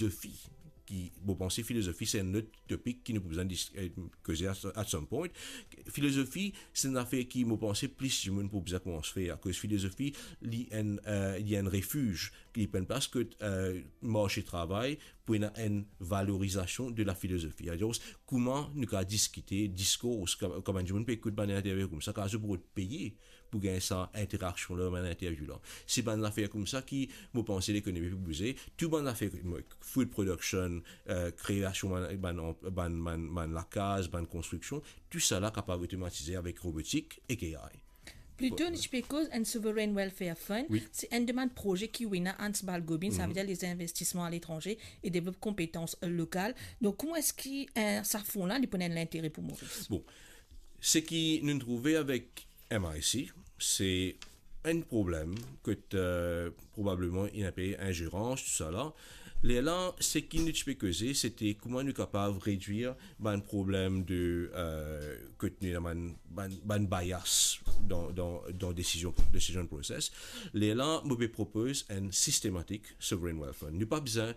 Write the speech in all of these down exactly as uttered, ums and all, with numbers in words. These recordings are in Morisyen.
Filozofi, ki, mo panse filozofi se enn lot topik ki nou pou bizin dis-, eh, koze at, at some point. Filozofi, se enn zafer ki, mo panse, plis dimoun pou bizin koumans fer, akoz filozofi, li enn, eh, li enn refiz, li pou enn plas kot, eh, marse travay pou ena enn valorizasion de la filozofi. Alor, kouma nou kapav diskite, diskor, kouma, kouma enn dimoun pe ekout bann interview koumsa, kapav zot pou peye pou gagn sa interaksion la, bann interview la. Se bann zafer koumsa ki, mo panse, lekonomi pou bouze. Tou bann zafer, mo, food production, eh, kreasion bann, bann, bann, bann, bann lakaz, bann konstriksion, tou sa la kapav otomatize avek robotik ek A I. Plito, nou ti pe koz enn Sovereign Welfare Fund, wi, se enn de bann proze ki ena Hans Balgobin, savedir lezinvestisman aletranze e devlop konpetans lokal. Donk, kouma eski, eh, sa fon la, li pou ena enn lintere pou Moris? Bon, seki nou trouve avek M I C, se enn problem kot, eh, probableman ena pe inzerans, tou sa la. Lerla, seki nou ti pe koze, se te kouma nou kapav redwir bann problem de, eh, kot nou ena bann, bann, bann bias dan, dan, dan decision, decision process. Lerla, mo pe propoz enn systematic sovereign wealth fund. Nou pa bizin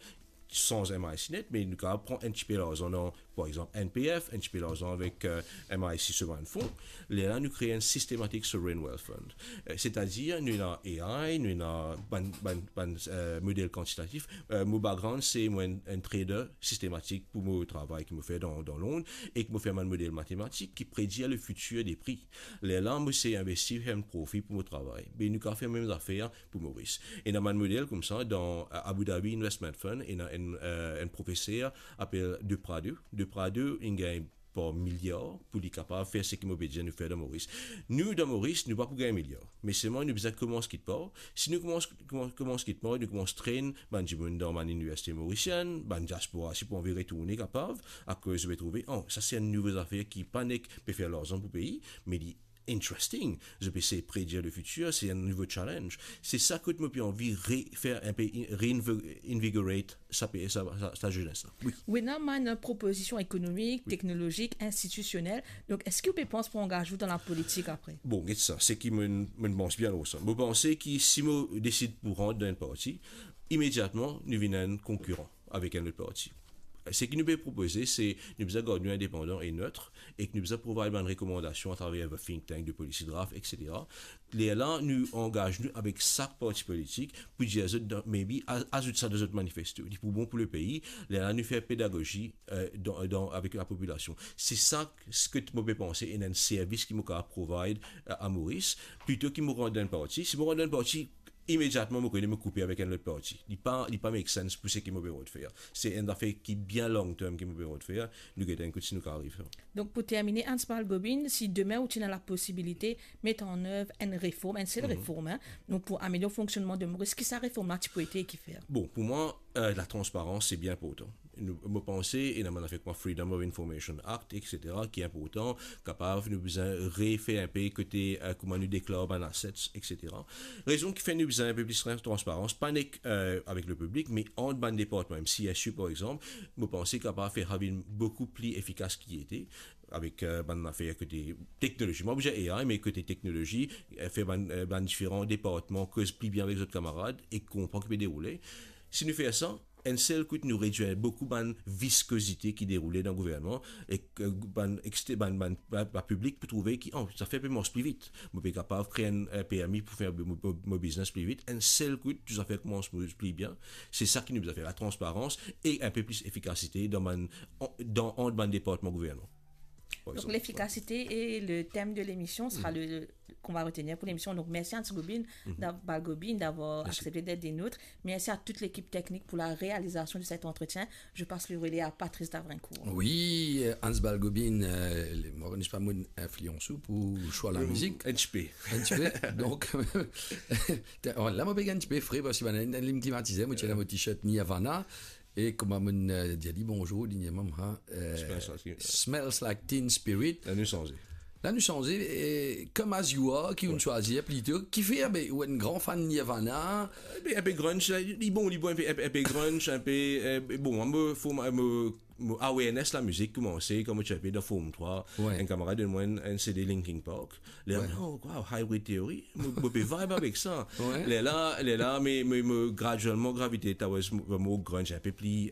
sanz M I C net, me nou kapav pran enn tipe larzan dan, par exanp, N P F, enn tipe larzan avek, eh, M I C so bann fon. Lerla nou kree enn systematic sovereign wealth fund. Eh, setadir, nou ena A I, nou ena bann, bann, bann, eh, model kantitatif. Eh, mo background, se mo enn, enn trader sistematik pou mo travay ki mo fer dan, dan Lond, e ki mo fer bann model matematik ki predir le fitir de pri. Lerla, mo se investi, fer enn profi pou mo travay. Me nou kapav fer mem zafer pou Moris. Ena bann model koumsa, dan, eh, Abu Dhabi Investment Fund, ena enn, eh, enn profeser apel De Prado. De Prado, inn gagn par miliar pou li kapav fer seki mo pe dir nou fer dan Moris. Nou, dan Moris, nou pa pou gagn miliar. Me selman, nou bizin koumans kikpar. Si nou koumans, koumans, koumans kikpar, nou koumans train bann dimoun dan bann iniversite morisien, bann diaspora, si pou anvi retourne kapav, akoz zot pe trouve, oh, sa se enn nouvo zafer ki pa nek pe fer larzan pou pei, me li interesting. Zot pe sey predir le fitir, se enn nouvo challenge. Se sa kot mo pe anvi re-, fer enpe in-, reinvigorate sa pe-, sa, sa, sa zenes la. Wi. Ou ena bann propozision ekonomik, wi, teknolozik, institisionel. Donk, eski ou pe pans pou angaz ou dan lapolitik apre? Bon, get sa, seki mo, mo pans bien lor sa. Mo panse ki si mo desid pou rant dan enn parti, imediatman, nou vinn enn konkiran avek enn lot parti. Seki nou pe propoze, se nou bizin gard nou indepandan e net, e ki nou bizin provide bann rekomandasion atraver bann think tank, de policy draft, et cetera. Lerla, nou angaz nou avek sak parti politik pou dir zot, dan, maybe, a-, azout sa dan zot manifesto. Li pou bon pou lepei. Lerla, nou fer pedagozi, eh, dan, dan, avek lapopilasion. Se sa seki mo pe panse, enn, enn servis ki mo kapav provide, eh, a Moris, plito ki mo rant dan enn parti. Si mo rant dan enn parti, imediatman mo kone mo koupe avek enn lot parti. Li pa, li pa make sense pou seki mo pe rod fer. Se enn zafer ki bien long term ki mo pe rod fer. Nou gete enn kout si nou kapav ariv fer. Donk, pou termine, Hans Balgobin, si demin ou ti ena laposibilite met an nev enn reform, enn sel, mhm, reform, hein, donk pou amelior fonksionnman de Moris, ki sa reform la ti pou ete e kifer? Bon, pou mwa, eh, latransparans, se bien inportan. Nou, mo panse, ena bann zafer kouma Freedom of Information Act, et cetera, ki inportan, kapav nou bizin refer enpe kote, eh, kouma nou deklar bann assets, et cetera. Rezon ki fer nou bizin enpe plis trans-, transparans, pa nek, eh, avek lepiblik, me ant bann departman, mem C S U, par exanp, mo panse kapav fer sa vinn boukou pli efikas ki ete, avek, eh, bann zafer kote teknolozi. Mo pa pou dir A I, me kote teknolozi, eh, fer bann, eh, bann diferan departman koz pli bien avek zot kamarad e konpran ki pe deroule. Si nou fer sa, enn sel kout nou redwir boukou bann viskozite ki deroule dan gouvernman, ek, eh, bann ekste-, bann, bann, bann, bann piblik pou trouve ki, oh, zafer pe mars pli vit. Mo pe kapav kree enn, eh, permi pou fer mo, mo, mo biznes pli vit. Enn sel kout, tou zafer koumans mars pli bien. Se sa ki nou bizin fer, latransparans e enpe plis efikasite dan bann, an, dan, ant bann departman gouvernman. Par exanp. Donc, l'efficacité est le thème de l'émission, sera, mhm, le, qu'on va retenir pour l'émission. Donc, merci Hans Gobin, mhm, d'av-, Balgobin d'avoir, merci, accepté d'être des nôtres. Merci à toute l'équipe technique pour la réalisation de cet entretien. Je passe le relais à Patrice Davrincourt. Wi, eh, Hans Balgobin, eh, li, mo, mo pa kone si li infliyans ou pou swa lamizik. Enn tipe. Enn tipe. Donk, te, oh, la, mo pe gagn enn tipe fre, parski bann, li klimatize, mo ti ena mo t-shirt Nirvana. E kouma mo'nn, eh, dir li bonzour, li dir mwa, eh, Smells Like Teen Spirit. Smells Like Teen Spirit. La nou sanze. La nou sanze, eh, Come As You Are, ki, wi, ou'nn swazir plito. Kifer, be, ou enn gran fan Nirvana? Eh, be, enpe grunge, la, li bon, li bon, enpe, enpe, enpe grunge, enpe, eh, bon, mo, fo, mo, mo awareness lamizik koumanse, kan mo ti enpe dan Form Trwa, wi, enn kamarad donn mwa enn, enn C D Linkin Park. Lerla, wi, oh, wow, Hybrid Theory, mo, mo pe vibe avek sa. Wi. Lerla, lerla, me, me, mo graduelman gravite towards mo, mo grunge, enpe pli, eh,